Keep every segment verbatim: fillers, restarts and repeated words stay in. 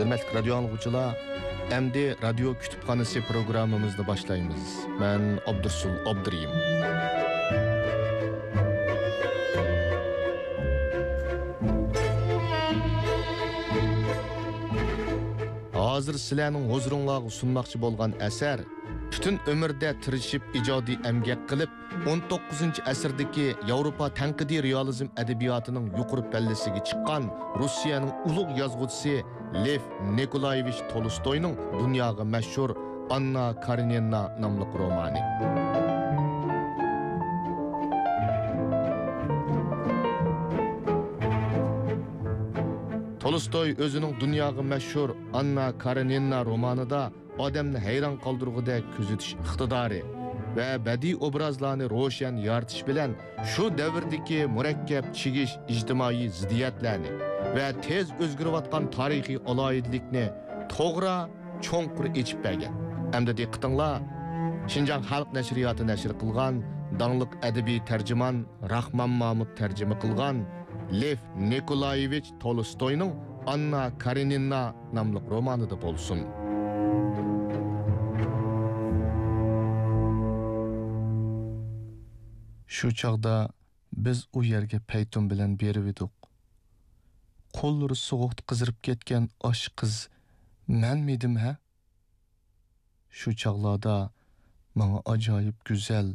ھۆرمەتلىك رادىيو ئاڭلىغۇچىلار، ئەمدى رادىيو كۇتۇپخانىسى پروگراممىمىزنى باشلايمىز. مەن ئابدۇرسۇل ئابدۇرېھىم. ھازىر سىلەرنىڭ ھۇزۇرۇڭلارغا سۇنماقچى بولغان ئەسەر پۈتۈن ئۆمرىدە تىرىشىپ ئىجادىي ئەمگەك قىلىپ، ئون توققۇزىنچى ئەسىردىكى ياۋروپا تەنقىدىي رېئالىزم ئەدەبىياتىنىڭ يۇقىرى پەللىسىگە چىققان روسىيەنىڭ ئۇلۇغ يازغۇچىسى لېف نىكولايېۋىچ تولستوينىڭ دۇنياغا مەشھۇر ئاننا كارېنىنا ناملىق رومانى. تولستوي ئۆزىنىڭ دۇنياغا مەشھۇر ئاننا كارېنىنا رومانىدا ئادەمنى ھەيران قالدۇرغۇدەك كۆزىتىش ئىقتىدارى ۋە بەدىئىي ئوبرازلارنى روشەن يارىتىش بىلەن شۇ دەۋردىكى مۇرەككەپ چىگىش ئىجتىمائىي زىددىيەتلەرنى ۋە تېز ئۆزگىرىۋاتقان تارىخىي ئالاھىدىلىكنى توغرا، چوڭقۇر ئېچىپ بەرگەن. ئەمدى دىققىتىڭلار، شىنجاڭ خەلق نەشرىياتى نەشر قىلغان داڭلىق ئەدەبىي تەرجىمان راخمان مامۇت تەرجىمە قىلغان لېف نىكولايېۋىچ تولستوينىڭ ئاننا كارېنىنا ناملىق رومانىدا بولسۇن. شۇ چاغدا بىز ئۇ يەرگە پەيتۇن بىلەن بېرىۋىدۇق. قوللىرى سوغۇقتا قىزىرىپ كەتكەن ئاشۇ قىز مەنمىدىم ھە؟ شۇ چاغلاردا ماڭا ئاجايىپ گۈزەل،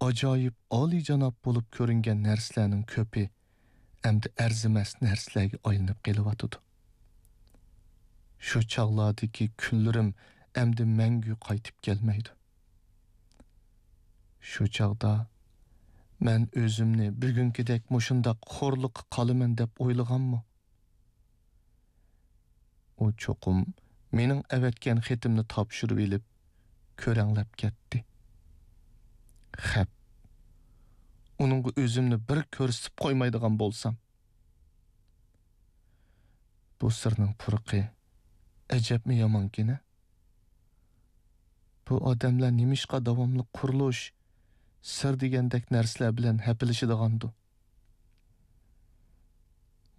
ئاجايىپ ئالىيجاناب بولۇپ كۆرۈنگەن نەرسىلەرنىڭ كۆپى ئەمدى ئەرزىمەس نەرسىلەرگە ئايلىنىپ قېلىۋاتىدۇ. شۇ چاغلاردىكى كۈنلىرىم ئەمدى مەڭگۈ قايتىپ كەلمەيدۇ. شۇ چاغدا مەن ئۆزۈمنى بۈگۈنكىدەك مۇشۇنداق خورلۇققا قالىمەن دەپ ئويلىغانمۇ؟ ئۇ چوقۇم مېنىڭ ئەۋەتكەن خېتىمنى تاپشۇرۇۋېلىپ، كۆرەڭلەپ كەتتى. خەپ. ئۇنىڭغا ئۆزۈمنى بىر كۆرسىتىپ قويمايدىغان بولسام. بۇ سىرنىڭ پۇرىقى ئەجەبمۇ يامانكىنە؟ بۇ ئادەملەر نېمىشقا داۋاملىق قۇرۇلۇش، سىر دېگەندەك نەرسىلەر بىلەن ھەپىلىشىدىغاندۇ؟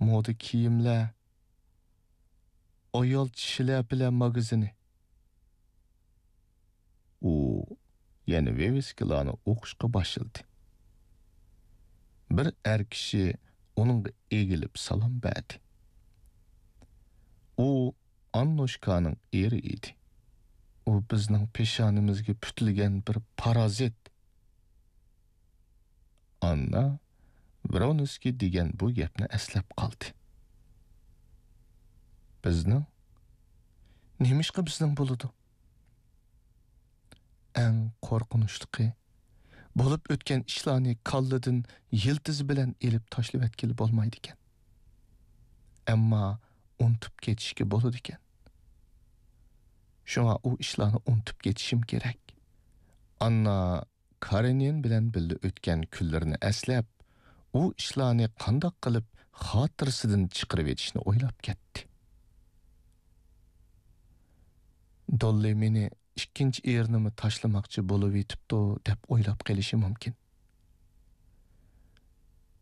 مودا كىيىملەر، ئايال چىشى لەپىلەر ماگىزىنى. ئۇ يەنە ۋىۋىسكىلارنى ئوقۇشقا باشلىدى. بىر ئەر كىشى ئۇنىڭغا ئېگىلىپ سالام بەردى. ئۇ ئاننوشكانىڭ ئېرى ئىدى. ئۇ بىزنىڭ پېشانىمىزگە پۈتۈلگەن بىر پارازىت. ئاننا ۋرونسكىي دېگەن بۇ گەپنى ئەسلەپ قالدى. بىزنىڭ؟ نېمىشقا بىزنىڭ بولىدۇ؟ ئەڭ قورقۇنچلۇقى، بولۇپ ئۆتكەن ئىشلارنى كاللىدىن يىلتىزى بىلەن ئېلىپ تاشلىۋەتكىلى بولمايدىكەن. ئەمما ئۇنتۇپ كېتىشكە بولىدىكەن. شۇڭا ئۇ ئىشلارنى ئۇنتۇپ كېتىشىم كېرەك. ئاننا كارېنىن بىلەن بىللە ئۆتكەن كۈنلىرىنى ئەسلەپ، ئۇ ئىشلارنى قانداق قىلىپ خاتىرىسىدىن چىقىرىۋېتىشنى ئويلاپ كەتتى. دوللى مېنى ئىككىنچى ئېرىنىمۇ تاشلىماقچى بولۇۋېتىپتۇ دەپ ئويلاپ قېلىشى مۇمكىن.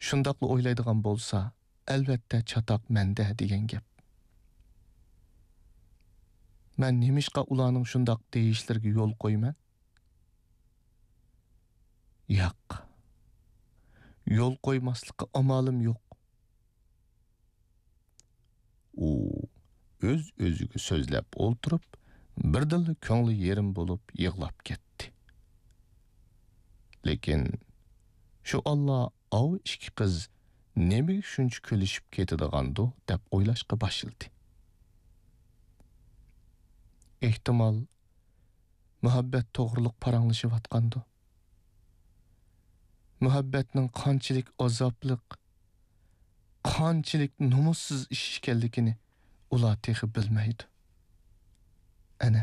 شۇنداقلا ئويلايدىغان بولسا، ئەلۋەتتە چاتاق مەندە دېگەن گەپ. مەن نېمىشقا ئۇلارنىڭ شۇنداق دېيىشلىرىگە يول قويىمەن؟ ياق. يول قويماسلىققا ئامالىم يوق. ئۇ ئۆز-ئۆزىگە سۆزلەپ ئولتۇرۇپ، بىردىنلا كۆڭلى يېرىم بولۇپ يىغلاپ كەتتى. لېكىن شۇ ئاللا ئاۋۇ ئىككى قىز نېمىگە شۇنچە كۈلۈشۈپ كېتىدىغاندۇ دەپ ئويلاشقا باشلىدى. ئېھتىمال، مۇھەببەت توغرۇلۇق پاراڭلىشىۋاتقاندۇ؟ مۇھەببەتنىڭ قانچىلىك ئازابلىق، قانچىلىك نومۇسسىز ئىش ئىكەنلىكىنى ئۇلار تېخى بىلمەيدۇ. ئەنە،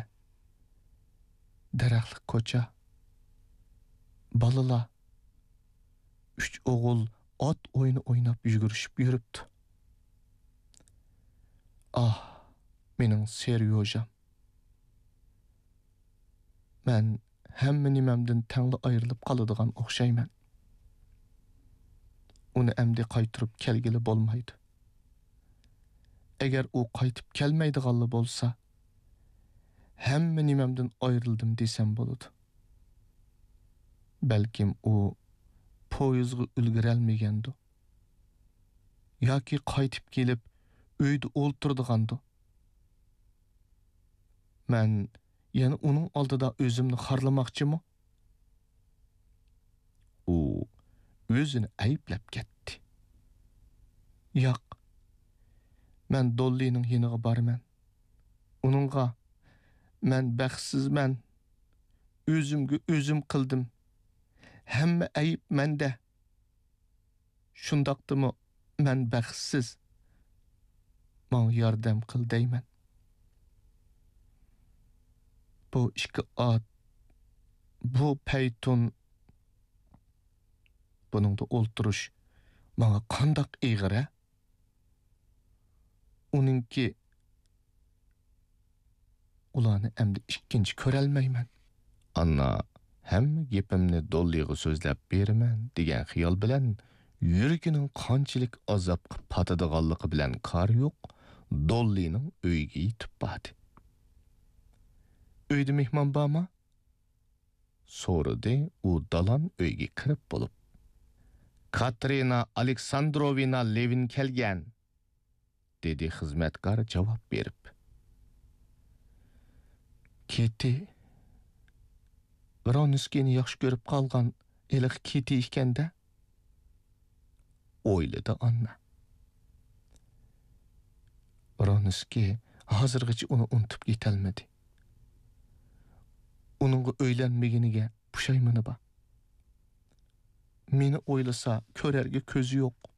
دەرەخلىك كوچا، بالىلار، ئۈچ ئوغۇل ئات ئويۇنى ئويناپ يۈگۈرۈشۈپ يۈرۈپتۇ. ئاھ، مېنىڭ سېريوژام! مەن ھەممە نېمەمدىن تەڭلا ئايرىلىپ قالىدىغان ئوخشايمەن. ئۇنى ئەمدى قايتۇرۇپ كەلگىلى بولمايدۇ. ئەگەر ئۇ قايتىپ كەلمەيدىغانلا بولسا، ھەممە نېمەمدىن ئايرىلدىم دېسەم بولىدۇ. بەلكىم ئۇ پويىزغا ئۈلگۈرەلمىگەندۇ. ياكى قايتىپ كېلىپ ئۆيدە ئولتۇرىدىغاندۇ. مەن يەنە ئۇنىڭ ئالدىدا ئۆزۈمنى خارلىماقچىمۇ؟ ئۇ ئۆزىنى ئەيىبلەپ كەتتى. ياق، مەن دوللىنىڭ يېنىغا بارىمەن. ئۇنىڭغا، «مەن بەختسىزمەن، ئۆزۈمگە ئۆزۈم قىلدىم، ھەممە ئەيىب مەندە، شۇنداقتىمۇ مەن بەختسىز، ماڭا ياردەم قىل» دەيمەن. بۇ ئىككى ئات، بۇ پەيتۇن، بۇنىڭدا ئولتۇرۇش ماڭا قانداق ئېغىر-ە؟ ئۇنىڭكى، ئۇلارنى ئەمدى ئىككىنچى كۆرەلمەيمەن. ئاننا ھەممە گېپىمنى دوللىغا سۆزلەپ بېرىمەن دېگەن خىيال بىلەن يۈرىكىنىڭ قانچىلىك ئازابقا پاتىدىغانلىقى بىلەن كارى يوق، دوللىنىڭ ئۆيىگە يېتىپ باردى. «ئۆيدە مېھمان بارمۇ؟» سورىدى ئۇ دالان ئۆيگە كىرىپ بولۇپ. «كاترىنا ئالېكساندروۋنا لېۋىن كەلگەن» دېدى خىزمەتكار جاۋاب بېرىپ. «كېتى، ۋرونسكىينى ياخشى كۆرۈپ قالغان ھېلىقى كېتى ئىكەن-دە» ئويلىدى ئاننا. ۋرونسكىي ھازىرغىچە ئۇنى ئۇنتۇپ يېتەلمىدى. ئۇنىڭغا ئۆيلەنمىگىنىگە پۇشايمىنى بار. مېنى ئويلىسا كۆرەرگە كۆزى يوق.